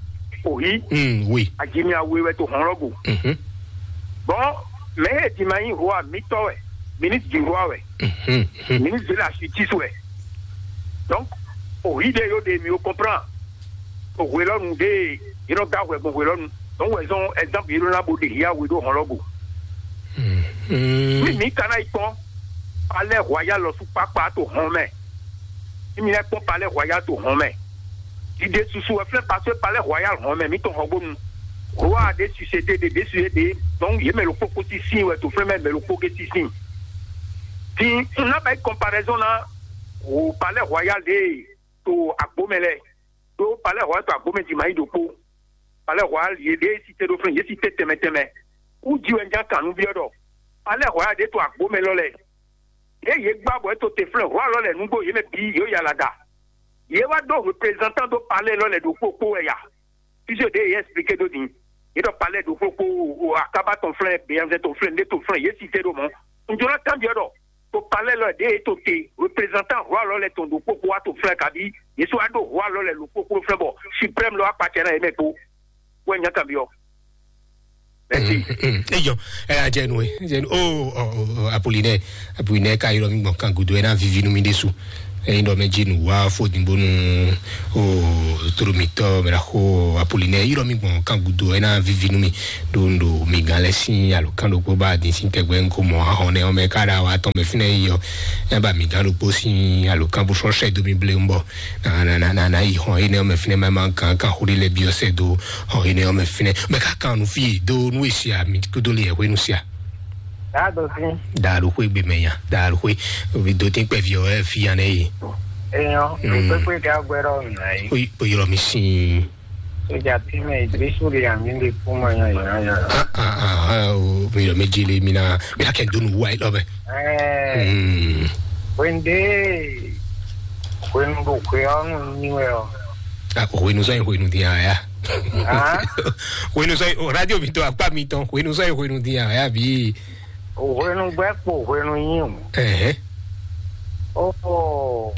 O yi. Mm, oui. Ajimi awe wɛ to hɔn lɔ go. Mhm. Bon, mɛ e di ma yi roi mi tɔ wɛ. Ministre du roi wɛ. Mhm, mhm. Ministre de la justice wɛ. Donc, o yi de yo de mi o comprend. O hwelɔnu de, yi nɔ da hwɛ gbɔn hwelɔnu. Donc, wɛ zɔn exemple yi nɔ na bo de ya we do hɔn lɔ go. Mhm. Mi mi kana yi kpɔn. Palais Royal lɔ su kpakpa to hɔn mɛ. Mi mi lɛ kpɔn Palais Royal to hɔn mɛ. Dide susu wɛ flɛ parce que Palais Royal hɔn mɛ mi tɔn hɔgbonu. Roi de suscité de de suscité de. Donc, ye mɛ lo kpokpo ti sin wɛ to flɛ mɛ mɛ lo kpo ke ti sin. Ti n na ba yi comparaison na o Palais Royal de to agbo mɛ lɛ. To Palais Royal to agbo mɛ di ma yi do kpo. Palais Royal ye de site do flɛ ye site tɛmɛ tɛmɛ. U ji wɛ n ja kan nu biɔ dɔ. Palais Royal de to agbo mɛ lɔ lɛ. Ye ye gba bɔ e to te flɛ roi lɔ lɛ nugbo ye mɛ bi yo yala da. Ye wa do représentant do palais lɔ lɛ do kpokpo wɛ ya. Puisque de ye expliqué do din. Ye dɔ palais do kpokpo o akaba tɔn flɛ, beyanzɛ tɔn flɛ, nde tɔn flɛ, ye cité do mɔ. N jona kan biɔ dɔ. To palais lɔ de ye to te représentant roi lɔ lɛ tɔn do kpokpo wa to flɛ kabi. Ye so wa do roi lɔ lɛ lo kpokpo flɛ bɔ suprême lɔ akpatsɛ na ye mɛ kpo. Wɛ nya kan biɔ. Merci. Eyɔ, ɛ ajɛ nu ɛ jɛ nu o o o Apolinɛ, Apolinɛ ka yɔrɔ mi gbɔn kan gudo ɛ na vivi nu mi de su. Ɛyin dɔ mɛ dzi nu wa fo din bonu o toro mi tɔ mɛ la xo Apolinɛ yɔrɔ mi gbɔn kan gudo ɛ na vivi nu mi do do mi gan lɛ sin alo kan do kpo ba din sin tɛgbɛ nko mɔ ahɔn nɛ ɔmɛ ka da wa tɔn mɛ finɛ yi yɔ. Ɛ ba mi gan do kpo sin alo kan bo sɔ sɛ do mi ble mbɔ. Na na na na na yi hɔn yi nɛ ɔmɛ finɛ ma ma kan kan xo de lɛ bi ɔsɛ do. Ɔ, énɛ́ ɔ́ mɛ fínɛ́. Mɛ ká kan nu fí e dó nú e sia mi kúdó lé yɛ hwenu sia. Daa dɔ sí. Daa ɖo xwé gbe mɛ nya. Daa ɖo xwé. Omi do tí kpɛ fi ɔ́ ɛ fi ya nɛ yi. Eyɔn, mm, kpékpé gá gbɛdɔ nà yi. O yi o yɔrɔ mi sin. Sójà tí mɛ ìgbésù lè àmì lè kú mọ yan yan yan. Ah ah ah ah o mi yɔrɔ mi jí lé mi na mi na kɛ donu wa yi lɔ bɛ. Ɛɛ. Mm. Wende. Hwenu ɖo hwe ɔ́ nu nyi wɛ ɔ. Ah, hwenu sɔn yi hwenu din aya. Ah? Hwenu sɔn yi o radio mi to akpa mi tɔn hwenu sɔn yi hwenu din aya bi. Hwenu gbɛ kpo hwenu nyi o. Ɛhɛ. O o.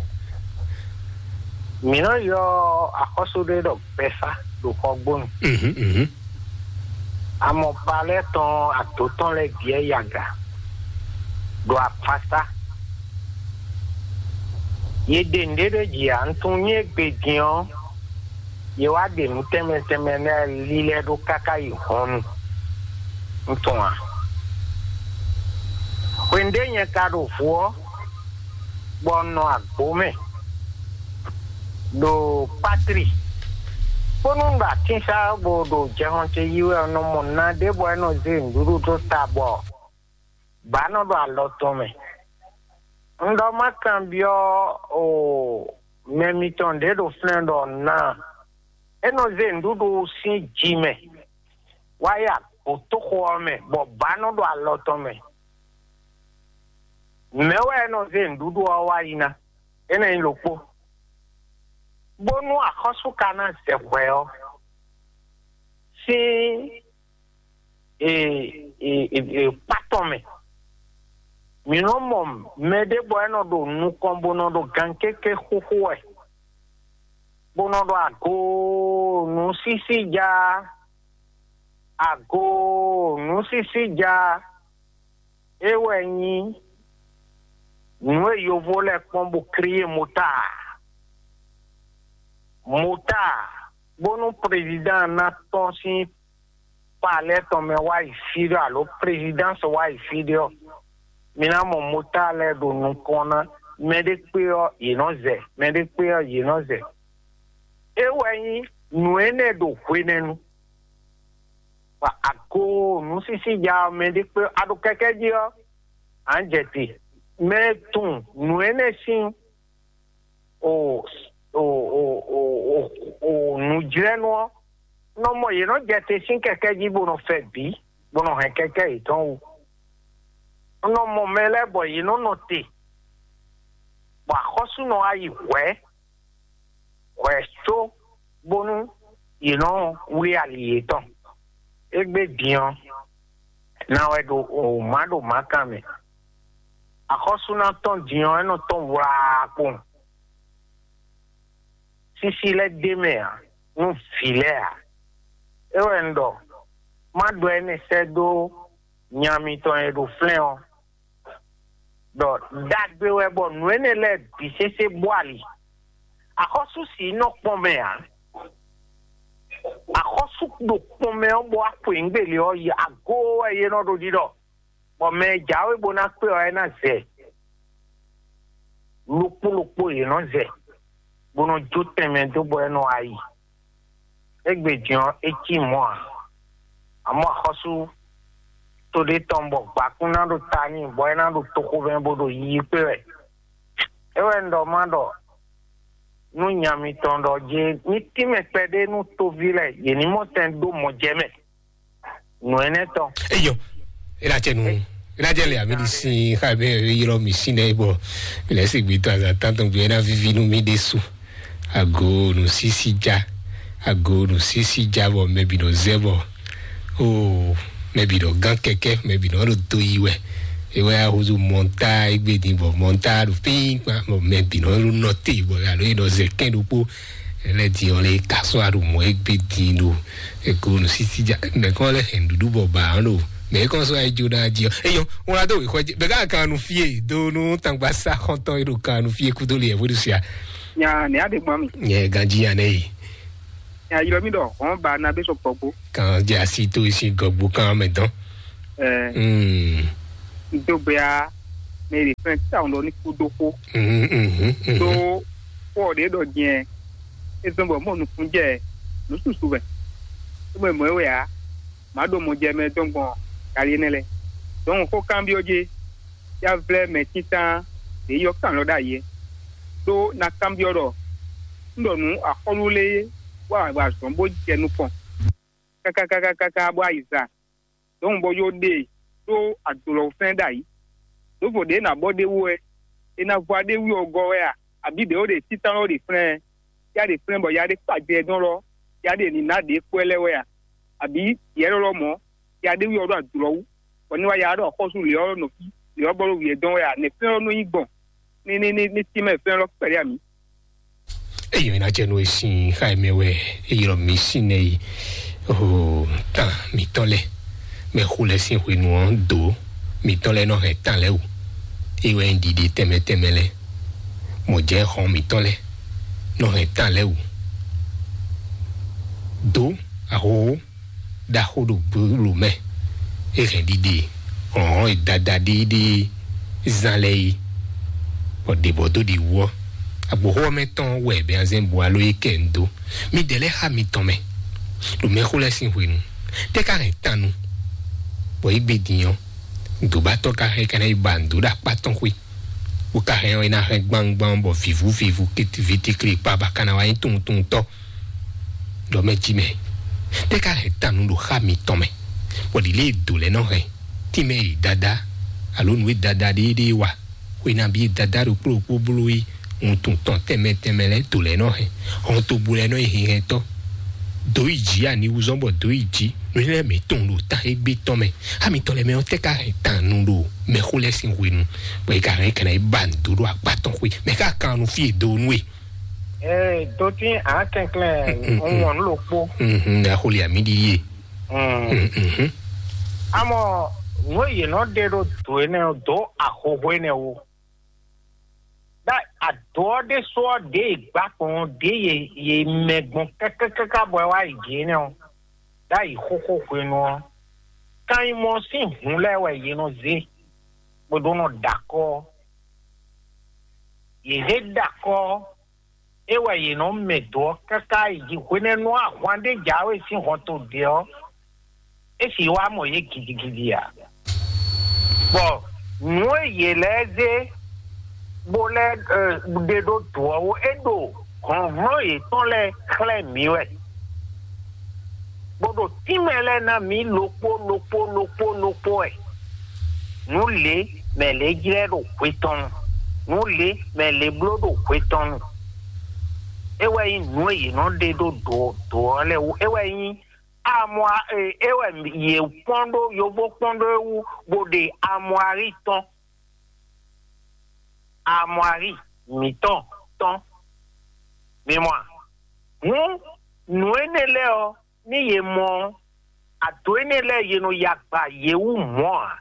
Mi nɔ yɔ akɔso ɖe ɖɔ gbɛsa ɖo xɔgbonu. Mhm mhm. Amɔ palɛ tɔn ato tɔn lɛ diɛ yaga ɖo afasa. Ye ɖe nɖe ɖe dzi a ntun nye gbe din ɔ. yě wá ɖe nǔ tɛnmɛ tɛnmɛ lɛ́ɛ lílɛ́ ɖó káká yi hɔnnu. Un tunwun a? Hwenu ɖé nyɛ ka ɖo vo ɔ́, bɔ un nɔ agbo mɛ ɖo patri, bónú un ɖo atínsa bó ɖo jɛhɔn ce yí wɛ, un nɔ mɔ na ɖé bɔ é nɔ zé nǔɖuɖu dó ta bɔ bǎ nɔ ɖo alɔ tɔn mɛ. Un ɖɔ má kanbyɔ́ o mɛ mitɔn ɖě ɖo flɛ́n ɖɔ ná é nɔ zé nǔɖuɖu sín ji mɛ wá yi agbǒtóxo ɔ́ mɛ, bɔ bǎ nɔ ɖo alɔ tɔn mɛ. Mɛ̌ wɛ é nɔ zé nǔɖuɖu ɔ́ wá yi ná? Énɛ́ nyí ɖokpó. Bónú axɔ́sú ka ná zɛ hwɛ ɔ́, sín e, e, e, e, kpá tɔn mɛ. Mǐ nɔ mɔ mɛɖé bɔ é nɔ ɖo nukɔn bó nɔ ɖo gankéké xúxú wɛ, bó nɔ ɖɔ agoo nǔsísí ja, agoo nǔsísí ja. É wɛ nyí nǔ e yovó lɛ́ɛ kpɔ́n bó kríyé motár. Motár, bónú prezidán ná tɔ́n sín palɛ́ tɔn mɛ wá yi fí ɖé alo prezidánsi wá yi fí ɖé ɔ́, mi ná mɔ motár lɛ́ɛ ɖo nukɔn ná. Mɛɖé kpé ɔ́, yě nɔ zɛ; mɛɖé kpé ɔ́, yě nɔ zɛ. É wɛ nyí nǔ énɛ́ ɖo hwenɛ́nu. Bɔ ago nǔsísí ja ɔ́, mɛɖé kpé ɔ́, a ɖo kɛkɛ́ jí ɔ́, a nǎ jɛ te. Mɛ e tunwun nǔ énɛ́ sín o o o o o nǔjlɛ́nú ɔ́, nɔ mɔ yě nɔ jɛ te sín kɛkɛ́ jí bó nɔ fɛ bǐ, bó nɔ hɛn kɛkɛ́ yětɔn wú. Un nɔ mɔ mɛ lɛ́ɛ bɔ yě nɔ nɔ te, bɔ axɔ́sú nɔ wá yi hwɛ̌, hwɛ̌ có bónú yě nɔ wlí ali yětɔn. Égbé din ɔ́, ná wɛ ɖo o má ɖo mǎkan mɛ. Axɔ́sú ná tɔ́n din ɔ́, é nɔ tɔ́n wlaa kpowun. Sísí lɛ́ɛ ɖ'é mɛ ǎ, nú vǐ lɛ́ɛ ǎ. É wɛ un ɖɔ, má ɖɔ énɛ́ sɛ́ dó nya mitɔn e ɖo flɛ́n ɔ́, ɖɔ ɖagbe wɛ bɔ nǔ énɛ́ lɛ́ɛ bǐ sésé bó ali. Axɔ́sú sǐ nɔ kpɔn mɛ ǎ. Axɔ́sú ɖo kpɔn mɛ ɔ́ bɔ wá xweyǐgbe lě ɔ́ yi agoo wɛ é nɔ ɖo ɖiɖɔ, bɔ mɛ e jǎwe bó ná kpé ɔ́, é ná zɛ. Ɖokpó ɖokpó yě nɔ zɛ, bó nɔ jó tɛnmɛ dó bɔ é nɔ wá yi. Égbé din ɔ́, é cí mɔ̌ ǎ. Amɔ̌ axɔ́sú to ɖé tɔn bɔ gbǎkún ná ɖo ta n'i, bɔ é ná ɖo toxovɛ́ bó ɖo yiyi kpé wɛ. É wɛ un ɖɔ má ɖɔ nú nya mitɔn ɖɔ jé ní tínmɛ kpɛɖé nú toví lɛ́ɛ, yě ní mɔ tɛn ɖó mɔ jɛ mɛ. Nǔ énɛ́ tɔn. Eyɔ, ena tse nu, ena tse le ami di si xa be ylɔ mi si nɛ bɔ mi lɛ si gbi tɔn azan tantɔn gbi ena vivi nu mi de su. Ago nu sisi ja, ago nu sisi ja bɔ mɛ bi nɔ zɛ bɔ o mɛ bi nɔ gan kɛkɛ, mɛ bi nɔ ɖo do yi wɛ. Ewɛ ahozo mɔnta egbe din bɔ mɔnta ɖo pin kpa bɔ mɛ bi nɔ ɖo nɔte bɔ alo yi nɔ zɛ kɛn ɖokpo. Ele di ɔle kasɔ aɖo mɔ egbe din ɖo eko nu sisi ja mɛ kɔn lɛ hɛn ɖuɖu bɔ ba ɔn ɖo mɛ kɔn sɔ ayi jo na di ɔ eyɔ wọn ado wixɔ dzi bɛ ka kan nu fie do nu tangba sa xɔntɔn yi ɖo kan nu fie kudo le yɛ vo ɖu sia. Nya ne ade gbɔn mi. Nyɛ ganji ya ne yi. Nya yɔ mi ɖɔ hɔn ba na be sɔ gbɔgbo. Kan dze asi to esi gɔgbo kan mɛ dɔn. Ɛɛ. Mm. N do gbea mɛ ɖe fɛn ta ɔn ɖɔ ní kú dó xó. Mhm, mhm, mhm. Ɖó xó ɔ́ ɖě ɖɔ jɛn é zɔ́n bɔ mɔ nukún jɛ nǔ susu mɛ. É mɔ mɔ̌ wɛ ǎ, mǎ ɖo mɔ jɛ mɛ dɔn gbɔn gali énɛ́ lɛ́ɛ. Dɔn xó kanbyɔ́ jé, yá vlɛ́ mɛ títán ɖě yɔ kan lɔ ɖ'ayǐ é. Ɖó ná kanbyɔ́ ɖɔ un ɖɔ nǔ axɔ́lú lé wá wá azɔ̌n bó jɛ nukɔn káká káká káká bó ayiza. Dɔn bɔ yó ɖe ɖó adolɔwúfɛn ɖ'ayǐ. Ɖǒvo ɖě nǎ bɔ ɖ'é wú wɛ, è nǎ vɔ aɖé wú ɔ́ gɔ́ wɛ a? Abǐ ɖě ó ɖe títán ɔ́ ɖe flɛ́n ɛ? Yá ɖe flɛ́n bɔ ya ɖé kpa jɛ dɔn lɔ, ya ɖe nǐ ná ɖě kpɔ́ ɛ lɛ́ɛ wɛ a? Abǐ yɛ̌ lɔ́lɔ́ mɔ̌, ya ɖé wú ɔ́ ɖo adolɔ wú, bɔ ní wá ya ɖɔ xɔ́sú lě ɔ́ nɔ fí, lě ɔ́ gbɔ ɖó wǔ ɛ dɔn wɛ a? Nɛ̌ flɛ́n ɔ́ nɔ nyí gbɔn? Ní ní ní ní tínmɛ flɛ́n lɔ kpɛɖé a mǐ? Eyi mi na jɛ nu esi xa mi wɛ eyi lɔ mi si nɛ yi o tan mi tɔn lɛ mɛ xo lɛ sin hwenu ɔ do mi tɔn lɛ nɔ hɛn tan lɛ o eyi wɛ ɖiɖi tɛmɛ tɛmɛ lɛ mɔ jɛ xɔn mi tɔn lɛ nɔ hɛn tan lɛ o Dǒ ahohó ɖaxó ɖo gbolo mɛ, é hɛn ɖiɖe hlɔ̌nhlɔ́n e dada ɖéɖé zán lɛ́ɛ é, bɔ ɖě bɔ dó ɖi wú ɔ́, agboxó ɔ́ mɛ tɔn wɛ bɛ́nzɛ́n bu alo é kɛ ń dó. Midɛɛ lɛ́ɛ xá mitɔn mɛ ɖo mɛxó lɛ́ɛ sín hwenu, tɛ́ ka hɛn tannu, bɔ é gbe din ɔ́, dǒbatɔ́ ka hɛn kɛnɛ yi ba nǔ dó ɖo akpá tɔn xwé, bó ka hɛn ɔ́, é ná hɛn gbangban bɔ vǐvú vǐvú, vitíkli kpa ba ka ná wá nyí tunwun tunwun tɔ́. Ɖɔ mɛ jí mɛ, tɛ́ ka hɛn tannu ɖo xá mitɔn mɛ, bɔ ɖi lě e dǒ lɛ́ɛ nɔ hɛn tínmɛ e dada alo nǔ e dada ɖéɖé wa, xwenabi e dada ɖokpó ɖokpó bló yi wuntun tɔn tɛnmɛ tɛnmɛ lɛ́ɛ dǒ lɛ́ɛ nɔ hɛn, hɔntogbó lɛ́ɛ nɔ yi hinhɛntɔ́, dǒ yi jǐ aniwúzɔ́n bɔ dǒ yi jǐ, nǔ lɛ́ɛ mǐ tunwun ɖo tan égbé tɔn mɛ. Xá mitɔn lɛ́ɛ mɛ ɔ́, tɛ́ ka hɛn tannu ɖo mɛxó lɛ́ɛ sín hwenu, bɔ è ka hɛn kɛnɛ yi ba nǔ dó ɖo akpá tɔn xwé, mɛ ka kan nú fí e dó nú e. Ee, dotín akɛnklɛn, un wɔn nú ɖokpó. Mhm, axoli ami ɖi ye. Mm. Mhm. Amɔ, nǔ e yě nɔ ɖe ɖó dǒ énɛ́ ɔ́, dǒ ahohó énɛ́ wú. Ɖá adǒ ɔ́ ɖésú ɔ́, ɖě e gbǎ gbɔn ɔ́, ɖě ye ye mɛ gbɔn kákákáká bɔ é wá yi jǐ énɛ́ ɔ́, ɖá yi xóxó hwenu ɔ́, kan nyí mɔ sín hun lɛ́ɛ wɛ yě nɔ zé, bó ɖó nɔ ɖo akɔ́ ɔ́. Yě zé ɖo akɔ́ ɔ́, é wɛ yě nɔ mɛ dǒ ɔ́ káká yi jí. Hwenɛ́nu ɔ́, ahwan ɖé jǎwe sín hɔnto ɖě ɔ́, é sì wá mɔ yě gidigidi ǎ. Bɔ nǔ e yě lɛ́ɛ zé bó lɛ́ ɖe ɖó dǒ ɔ́ wú, é ɖo hlɔ̌nhlɔ́n yětɔn lɛ́ɛ xlɛ́ mǐ wɛ, bó ɖo tínmɛ lɛ́ɛ ná mǐ ɖokpó ɖokpó ɖokpó ɖokpó wɛ. Nǔ lě mɛ lě jlɛ́ ɖo hwe tɔn nu, nǔ lě mɛ lě bló ɖo hwe tɔn nu. É wɛ nyí nǔ e yě nɔ ɖe ɖó dǒ dǒ ɔ́ lɛ́ɛ wú. É wɛ nyí amwa e é wɛ yě kpɔ́n ɖó yovo kpɔ́n ɖó é wú, bó ɖe amwari tɔn, amwari mǐtɔn tɔn. Mi mɔ a? Hǔn nǔ énɛ́ lɛ́ɛ ɔ́, ní yě mɔ ɔ́, ado énɛ́ lɛ́ɛ yě nɔ ya gba yě wú mɔ̌ ǎ,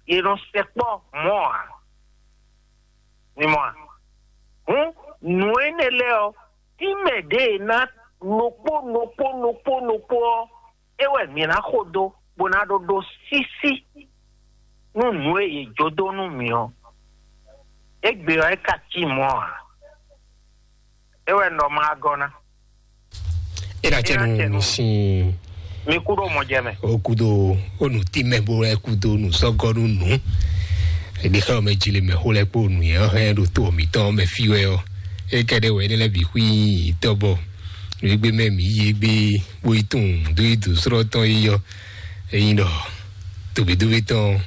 yě nɔ sɛkpɔ́ mɔ̌ ǎ. Mi mɔ a? Hǔn nǔ énɛ́ lɛ́ɛ ɔ́, tínmɛ ɖě e ná ɖokpó ɖokpó ɖokpó ɖokpó ɔ́, é wɛ mǐ ná xo dó, bó ná ɖó ɖó sísí nú nǔ e yě jó dó nú mǐ ɔ́. Égbé ɔ́, é ka cí mɔ̌ ǎ. É wɛ un ɖɔ ma gɔ́ ná. É ná cɛ nu sin. Mi kú ɖo mɔ jɛ mɛ. O kudo o nu ti mɛ bo lɛ kudo nu sɔgɔ nu nu. Eɖe xɛ mɛ dzi le mɛ xo lɛ kpo nu yɛ hɛn ɖo to mǐtɔn mɛ fi wɛ ɔ. É kɛ ɖe wɛ ne lɛ bi xwi tɔ bɔ. Egbe mɛ mi yi egbe bo yi tun do yi du srɔ tɔn yi yɔ. Eyin ɖɔ tobe dobe tɔn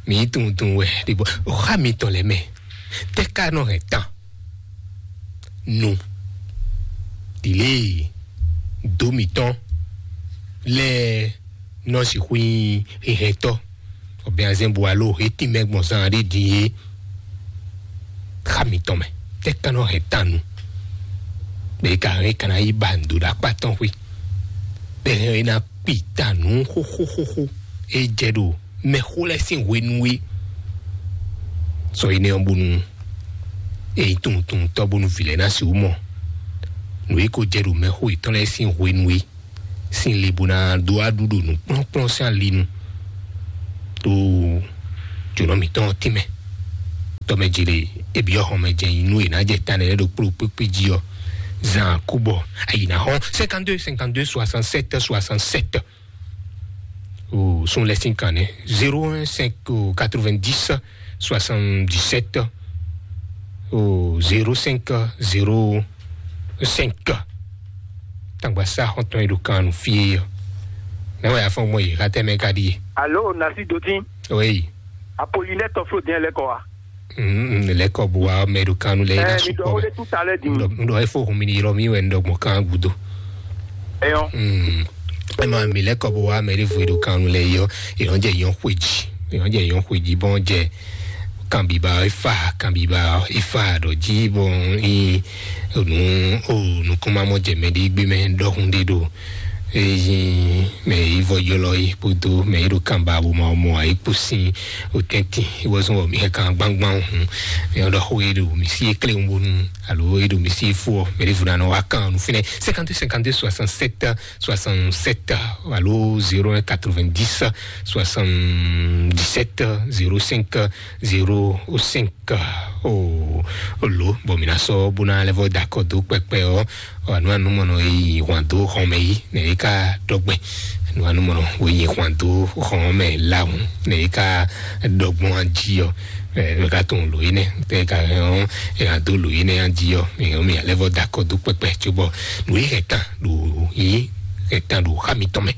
mi yi tun tun wɛ ɖe bɔ o xa mi tɔn lɛ mɛ. Tɛ ka nɔ hɛn tan. Nu ɖilé dó mǐtɔn lɛ́ɛ nɔ sixú nyí hehɛntɔ́, ɔbɛazɛn bu alo he tínmɛ gbɔn zan ɖé din é. Xa mǐtɔn mɛ tɛ ka nɔ hɛn tan nu bɛ ka hɛn ka ná yi ba ndo ɖo akpá tɔn xwé bɛ hɛn é ná kpi ta nǔ xóxóxóxó é jɛ ɖo mɛxó lɛ́ɛ sín hwenu é. Sɔ énɛ́ ɔ́ bónú é nyí tunwuntunwuntɔ́ bónú vǐ lɛ́ɛ ná sixú mɔ nǔ e ko jɛ ɖo mɛxó yětɔn lɛ́ɛ sín hwenu é sín le bó ná dó aɖú ɖo nǔkplɔ́nkplɔ́n sín ali nu. Tó jǒnɔ mǐtɔn ɔ́ tínmɛ tɔmɛ jile ebyɔ xɔmɛ jɛ nyi nú è nǎ jɛ ta nɛ́ ɖo kpló kpékpé jí ɔ́, zan kú bɔ ayi ná xɔn cinquante-deux cinquante-deux soixante-sept soixante-sept. O sun lɛ sin kan nɛ zéro un cinq quatre-vingt-dix soixante-dix-sept o zéro cinq zéro cinq. Tangba sa xɔntɔn yi ɖo kan nu fie yɔ. Mɛ wɛ afɔ mɔ yi xatɛ mɛ ka ɖi. Alo, nasi dotin. Oui. Apollinaire tɔflo diɲɛ lɛ kɔ wa. Mm, lɛ kɔ bu wa mɛ ɖo kan nu lɛ yi na. Eh, mi dɔ sukɔ wole mɛ. Tout à l'heure di. Ndɔ ndɔ efo hun mi ni yɔrɔ mi wɛ ndɔ gbɔn kan gudo. Eyɔn. Mm. Ema mi lɛ kɔ bu wa mɛ ɖe vo ɖo kan nu lɛ yɔ. Eyɔn jɛ yɔn xweji. Eyɔn jɛ yɔn xweji bɔn jɛ kan biba efa kan biba efa ɖɔ ji bɔn i nu o nukun ma mɔ jɛ mɛ ɖe gbe mɛ dɔhun ɖe ɖo Eyin mɛ yi vɔ yɔlɔ yi kpodo mɛ yi ɖo kanba bo ma mɔ ayi kpo sin o tɛntin iwɔzɔn wɔ mi hɛ kan gbangban hun mɛ yɔ ɖɔ xo yi ɖo mi si ekle ŋu bonu alo yi ɖo mi si fo mɛ ɖe vuna nɔ wa kan nu finɛ cinquante cinquante soixante sept soixante sept alo zéro un quatre-vingt-dix soixante-dix-sept zéro cinq zéro cinq. Ka o lo bɔ mi na sɔ bó na lɛ vɔ da kɔ dó kpɛkpɛ ɔ anu anu mɔnɔ yi hwan dó xɔmɛ yi ne yi ka dɔgbɛ anu anu mɔnɔ wo yi hwan dó xɔmɛ lawun ne yi ka dɔgbɔn adi ɔ ɛ ka tɔn lo yi nɛ tɛ ka hɛn ɔ ɛ ka do lo yi nɛ adi ɔ ɛ mi alɛ vɔ da kɔ dó kpɛkpɛ tso bɔ nu yi hɛ tan ɖo yi hɛ tan ɖo xa mi tɔn mɛ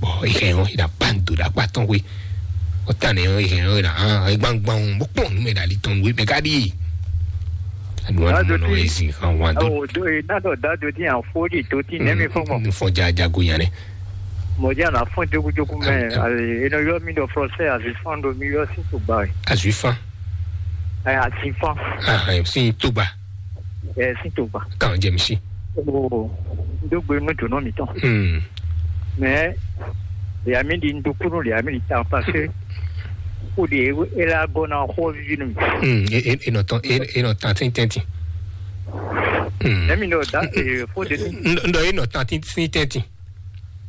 bɔ yi hɛ ɔ yi na ban do ɖa kpa tɔn we ɔtá nɛ ɔ yi hɛn ɔ yi na hã gbangban bó kpɔn nu mɛ ɖali tɔn nu mɛ ka ɖi anu anu mɔnɔ ezi hã wa do Awo do e na dɔ da do ti an fo di do ti nɛmi fɔ mɔ. Nufɔ ja jago yan dɛ Mo di ana fɔn jogu jogu mɛ. Alo e nɔ yɔ mi dɔ français azi fan do mi yɔ si to gba. Azui fan. Ɛ azi fan. Ah, si to gba. Ɛ si to gba. Kan jɛ mi si. O do gbe nu do nɔ mi tɔn. Hmm. Mais les amis di n do kunu les amis di tan parce que o de e la gɔ na xɔ vivi nu. Hmm. E e e nɔ tɔn e e nɔ tan tin tɛntin. Hmm. Emi nɔ da e fo de. N dɔ e nɔ tan tin tin tɛntin.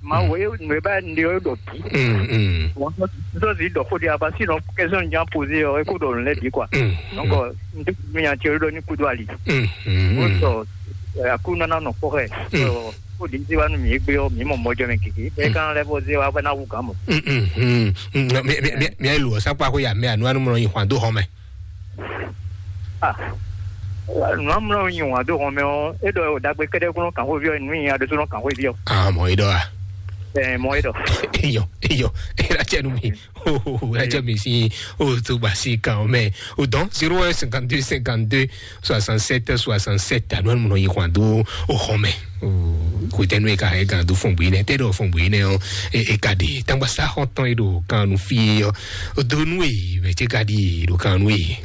Ma wo e nu e ba n de o dɔ bi. Hmm. Hmm. Wọn sọ si dɔ fo de aba si nɔ kẹsàn jan poze ọ e ko dɔ lẹ bi quoi. Hmm. Donc n de mi yan ti o dɔ ni kudo ali. Hmm. Hmm. O sɔ akú nana nɔ kpɔ xɛ. Hmm. Ko ɖi zi wa nú mǐ égbé ɔ́, mǐ mɔ mɔjɔ mɛ gěgé. Bɛɛ kan lɛ́ vɔ zé wa vɛ ná wú gǎn mɔ. Mí ayi lǒ ɔ́ sákpá xó ya mɛ anu anu mlɔ nyi hwan dó hɔn mɛ. Ah, nǔ amlɔ nyi wǎn dó hɔn mɛ ɔ́, é ɖɔ ɖagbe kɛ́ɖɛ́ kún nɔ kàn xóví ɔ́, nǔ nyi aɖósónɔ kàn xóví ɔ́. Ah, mɔ é ɖɔ a? Ɛ, mɔ é ɖɔ. Eyɔ, eyɔ, é ɖa cɛ nú mi. Oh, oh, oh, é ɖa cɛ mi sí. Oh, tó gbà sí kan mɛ. O dɔn zéro un cinquante-deux cinquante-deux soixante-sept soixante-sept anu anu mlɔ nyi hwan dó o hɔn mɛ. Kò tɛ nu e ka e gan do fɔn bui nɛ tɛ ɖɔ fɔn bui nɛ ɔ e ka de tangba sa xɔ tɔn e ɖo kan nu fi ɔ o do nu e mɛ tse ka di ɖo kan nu e.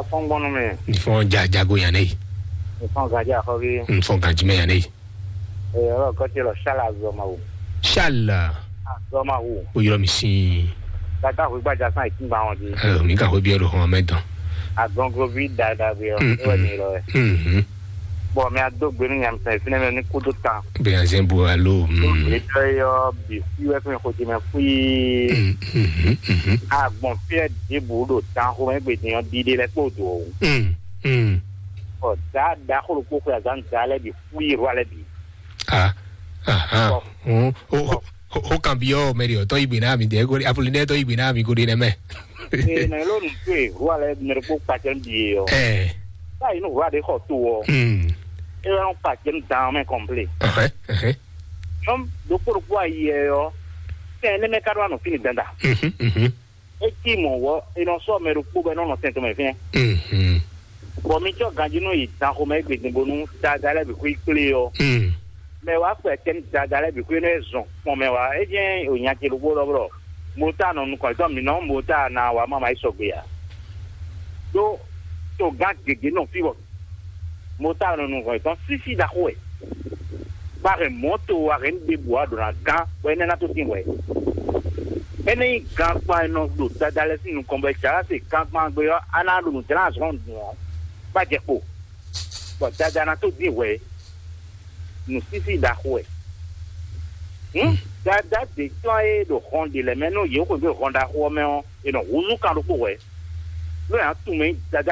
Fɔngbɔnu mɛ. Nifɔn ja jago yan ne. Nifɔn gaji axɔvi. Nifɔn gaji mɛ yan ne. Ee, ɔlɔ kɔtsi lɔ sala azɔmawu. Sala. Azɔmawu. O yɔrɔ mi si. Tata hu gbaja san ìtúngba wọn di. Ɛ mi ka ho bi ɛrù hɔn mɛ dɔn. Agɔnglovi dada bi ɔ. Mm, ewɛ mm. Mi lɔ yɛ. Mhm. Bɔn mi ado gbenu nyamisɛn finɛ mɛ ni kudo tan. Bɛ azɛn bu alo. Gbetɔ yɔ bi fi wɛ fún mi xɔti mɛ fui. Mhm, mhm. Agbɔn fiɛ dibu ɖo tan xomɛ gbedin ɔ dide lɛ kpo do. Mm, mm. Ɔ da da xolo kpo xɔ azan da lɛ bi fui rɔ lɛ bi. Ah, ah, ah. Bɔn. O kan bi ɔ mɛ de ɔtɔ igbe na mi de ko apoli ne tɔ igbe na mi ko de nɛ mɛ. Ee, na elo nu to e rua lɛ mɛ ko kpacɛ bi ye ɔ. Ɛ. Ba yi nu rua de xɔ to ɔ. Hmm. E wa nu kpacɛ nu dan mɛ kɔnple. Ɛhɛ, ɛhɛ. Nɔm dokpo dokpo ayi yɛ ɔ. Fɛn ne mɛ ka do anu fini danda. Mhm, mhm. E cí mɔ̌ wɔ è nɔ sɔ́ mɛ ɖokpó bɔ é nɔ nɔ tɛn tɔn mɛ fínɛ́. Mhm. Bɔ mi cɔ́ ganjí nú yi dan xomɛ égbé din bónú dada lɛ́ɛ bǐ xwí kplé ɔ́. Mm. Mɛ wá kpɛ tɛn dada lɛ́ɛ bǐ xwí nú é zɔn kpɔn mɛ wá. É jẹ́ ònya ce ɖokpó ɖɔ blɔ mota nɔ nukɔn tɔn mǐ nɔ mota na wá mama yi sɔgbe ǎ. Ɖó togán gěgé nɔ fí bɔ mota nɔ nukɔn tɔn sísí ɖaxó wɛ. Ba hɛn mɔto wa hɛn ɖe bua ɖo na gán bɔ énɛ́ ná tó tín hwɛ. Énɛ́ nyí gankpan e nɔ ɖo dada lɛ́ɛ sín nukɔn bɔ é jǎ se gankpan gbe ɔ́, a ná ɖo nǔ dlán azɔn dùn ɔ́, bá jɛ kpo, bɔ dada ná tó dín hwɛ. Nǔsísí ɖaxó wɛ. Hǔn dada ɖě tɔn e ɖo hɔn ɖě lɛ́ɛ mɛ nú yě xweyǐgbe hɔn ɖaxó ɔ́ mɛ ɔ́, è nɔ húzú kan ɖokpó hwɛ. Nú è nǎ tunwun mɛ nyí dada